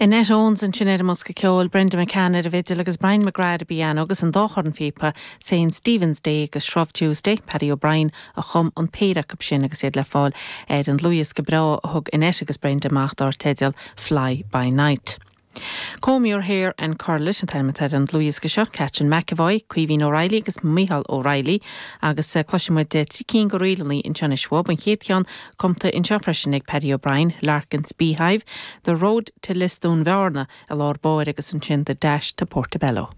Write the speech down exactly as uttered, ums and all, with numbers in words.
Annette Owens ansin ar an mbosca ceoil Brenda McCann ar an bhfidil agus Brian McGrath ar an bpianó agus an dá chornphíopa Saint Stephen's Day agus Shrove Tuesday, Paddy O'Brien a chum an péire acu sin agus iad le fáil ar an dlúthdhiosca breá a thug Annette agus Brenda amach dar teideal Fly by Night. Comb Your Hair and Curl It an t-ainm ar an dlúthdhiosca seo, Catherine McAvoy, Caoimhín O'Reilly agus Michael O'Reilly agus eh, cloisfimid trí cinn de ríleanna anseo anois an chéad cheann cumtha anseo freisin ag Paddy O'Brien, Larkin's Beehive, The Road to Lisdoonvarna i lár báire agus ansin The Dash to Portobello.